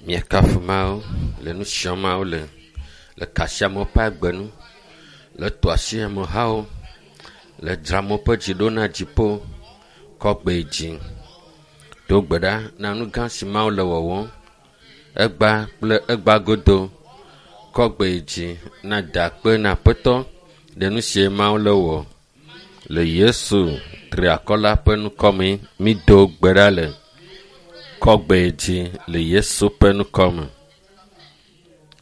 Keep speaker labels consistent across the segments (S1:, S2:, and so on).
S1: Míekafu Mawu le nu siam Mawu le le ka asi amewo ƒe agbe nu, le tɔ asi amehawo, le dzra amewo ƒe dzi ɖo na dziƒo, kɔ gbe yi dzi. Do gbe ɖa na nu gã si Mawu le wɔwɔm egba kple egba godo. Kɔ gbe yi dzi na da akpe na Aƒetɔ ɖe nu sie Mawu le wɔ. Le Yesu triakɔ la ƒe ŋkɔ me mído gbe ɖa le. Kɔ gbe yi dzi le Yesu ƒe ŋkɔ me.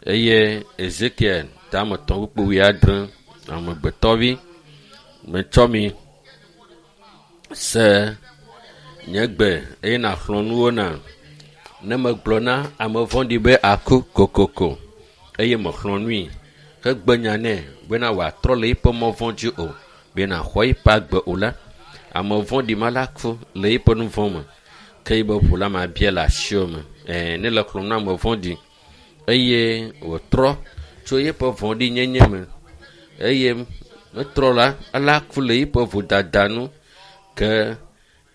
S1: Eye Ezekiel tame tɔ̃ kpukpui wuiadre amegbetɔvi metsɔ mi se nye gbe eye nàxlɔ̃ nu wo nam. Ne megblɔ na ame vɔ̃ɖi be aku kokoko eye mexlɔ̃ nui hegbe nya nɛ bena wòatrɔ le eƒe mɔ vɔ̃ dzi o, bena xɔ eƒe agbe o la, ame vɔ̃ɖi ma la ku le eƒe nu vɔ̃ me ke yibe ʋu la mabia le asiwò me. Ɛɛ, ne le xlɔ̃m na ame vɔ̃ɖi eye wòtrɔ tso eƒe vɔ̃ɖinyenye me eye metrɔ la, ela ku le eƒe vodada nu ke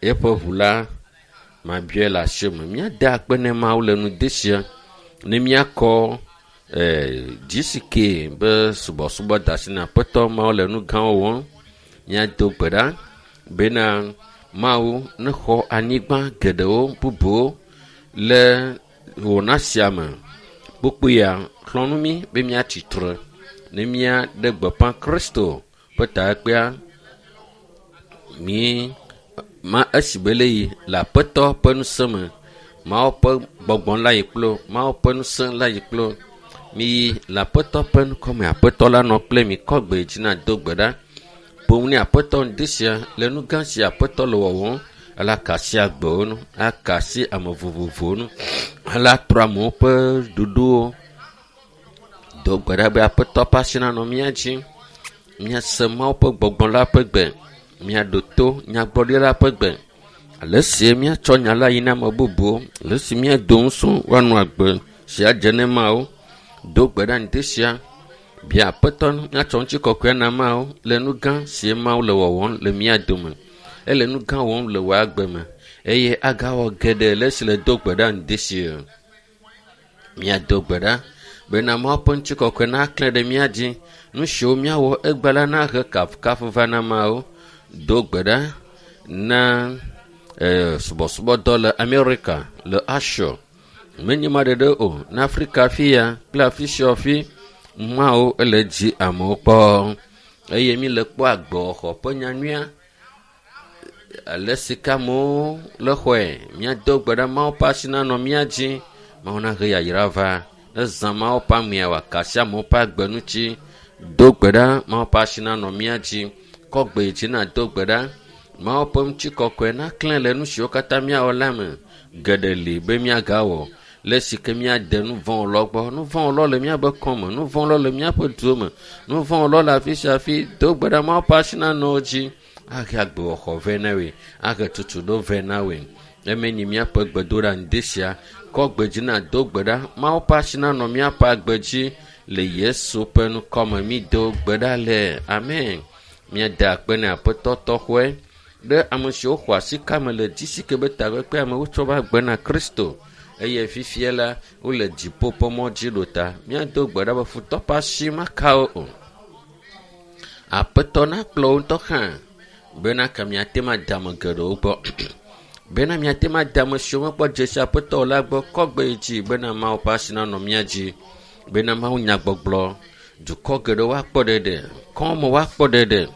S1: eƒe ʋu la mabia le asiwò me. Míada akpe ne Mawu le nu de sia ne míakɔ GCK be subɔsubɔ da asi na Aƒetɔ Mawu le nu gãwo wɔm. Míado gbe ɖa bena Mawu nexɔ anyigba geɖewo bubuwo le wɔna sia me. Kpukpui ya xlɔ̃ nu mí be míatsi tre ne míaɖe gbeƒã Kristo ƒe takpekpea. Mí ma esi be le yi le Aƒetɔ ƒe ŋusẽ me. Mawu ƒe gbɔgbɔ la yi kplo, Mawu ƒe ŋusẽ la yi kplo. Miyi le Aƒetɔ ƒe ŋkɔ me. Aƒetɔ la nɔ kple mi. Kɔ gbe dzi na do gbe ɖa. Ƒo ne Aƒetɔ ŋdi sia le nu gã si Aƒetɔ le wɔwɔm. Ela ka asi agbewo nu, aka asi ame vovovowo nu, ela trɔ amewo ƒe ɖoɖowo. Do gbe ɖa be Aƒetɔ ƒe asi nanɔ mía dzi. Míase Mawu ƒe gbɔgbɔ la ƒe gbe. Míaɖo to nyagblɔɖila ƒe gbe. Ale si míatsɔ nya la yi na ame bubuwo, ale si míado ŋusẽ woanɔ agbe si adze ne Mawu. Do gbe ɖa ŋdi sia. Bia Aƒetɔ míatsɔ ŋutikɔkɔe na Mawu le nu gã si Mawu le wɔwɔm le mía dome. Ele nu gã wɔm le wò agbe me eye agawɔ geɖe le esi le do gbe ɖa ŋdi sia. Míado gbe ɖa bena Mawu ƒe ŋutikɔkɔe naklẽ ɖe mía dzi. Nu siwo míawɔ egbe la nahe kafukafu va na Mawu. Do gbe ɖa na subɔsubɔdɔ le Amerika, le Asia. Menye ma ɖeɖe o, na Afrika fi ya kple afi sia afi Mawu ele dzi amewo kpɔ eye mi le kpɔ agbewɔxɔ ƒe nyanyuia ale si ke amewo le xɔe. Míado gbe ɖa Mawu ƒe asi nanɔ mía dzi. Mawu nahe yayra va. Ne zã Mawu ƒe amea wòaka asi amewo ƒe agbe ŋuti. Do gbe ɖa Mawu ƒe asi nanɔ mía dzi. Kɔ gbe dzi na do gbe ɖa. Mawu ƒe ŋutikɔkɔe naklẽ le nu siwo katã míawɔ la me. Geɖe li be míagawɔ. Le si ke míade nu vɔ̃ lɔ gbɔ. Nu vɔ̃ lɔ le míaƒe kɔme. Nu vɔ̃ lɔ le míaƒe duwo me. Nu vɔ̃ lɔ le afi sia afi. Do gbe ɖa Mawu ƒe asi nanɔ wo dzi. Ahe agbewɔxɔ vɛ na woe. Ahe tutuɖo vɛ na woe. Eme nyi míaƒe gbedoɖa ŋdi sia. Kɔ gbe dzi na do gbe ɖa. Mawu ƒe asi nanɔ míaƒe agbe dzi le Yesu ƒe ŋkɔ me. Mído gbe ɖa le amen. Míada akpe na Aƒetɔ tɔxɔe ɖe ame siwo xɔ asi kame le GCK be takpekpea me wotsɔ va gbe na Kristo eye fifia la wole dziƒo ƒe mɔ dzi ɖo ta. Míado gbe ɖa be futɔ ƒe asi maka wo o. Aƒetɔ nakplɔ wo ŋutɔ hã bena ke miate ŋu ade ame geɖewo gbɔ. Bena miate ŋu ade ame siwo mekpɔ dzesi Aƒetɔ o la gbɔ. Kɔ gbe yi dzi bena Mawu ƒe asi nanɔ mía dzi. Bena Mawu nyagbɔgblɔ dukɔ geɖewo woakpɔ ɖeɖe, kɔme woakpɔ ɖeɖe.